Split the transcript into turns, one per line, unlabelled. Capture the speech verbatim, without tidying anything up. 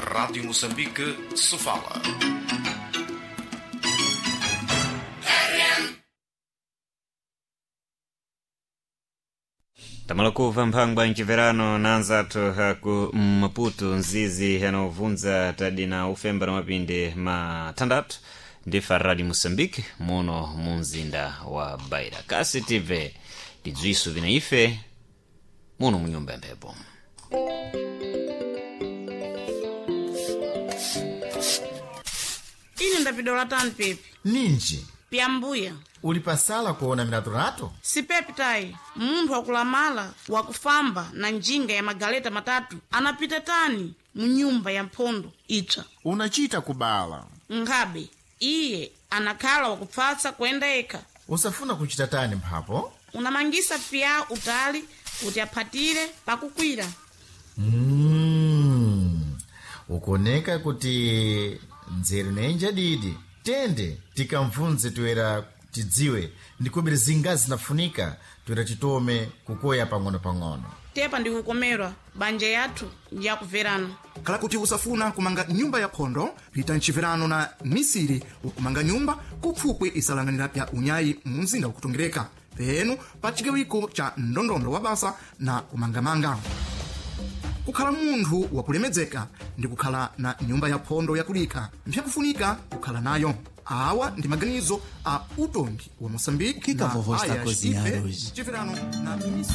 Rádio Moçambique, Sofala.
Tamalakuva mphangwa mciverano na anzathu ku Maputo, nzizi yanovunza tadina ufemba na mapindi mathandathu ndifa Radio Moçambique muno mu mzinda wa Beira. Kasi tive tidzwiso vina ife muno mu nyumba ya mphepo.
Ine ndapidola tani pepi.
Ninji?
Pyambuya.
Uli pasala kuona milatolato?
Sipepi tayi, munthu wakulamala wakufamba na njinga ya magaleta matatu anapita tani mu nyumba ya mphondo itswa.
Unachita kubala?
Nkhabe iye anakhala wakupfatsa kuyenda yekha.
Usafuna kuchita tani mphapo?
Unamangisa pya utali kuti aphatire pakukwira.
Mm. Ukuoneka kuti nzeru nenja didi. Tende tikamvunze toera tidziwe ndikubiri zingazi zinafunika toera titome kukoya pang'ono-pang'ono.
Tepa ndikukomerwa banja yathu ndiyakuverana.
Khala kuti usafuna kumanga nyumba ya phondo, pita mchiverano na misiri wakumanga nyumba kupfupwi isalanganira pya unyayi mu mzinda wakutongereka penu pa chigawiko cha ndondondo wa basa na kumangamanga. Kukhala munthu wakulemedzeka ndi kukhala na nyumba ya phondo yakulika mpyakufunika kukhala nayo. Awa ndi maganizo a utongi wa Moçambique
O que que a
na
vovó está a
A I S
cozinhar
I P,
hoje?
mchiverano na misiri.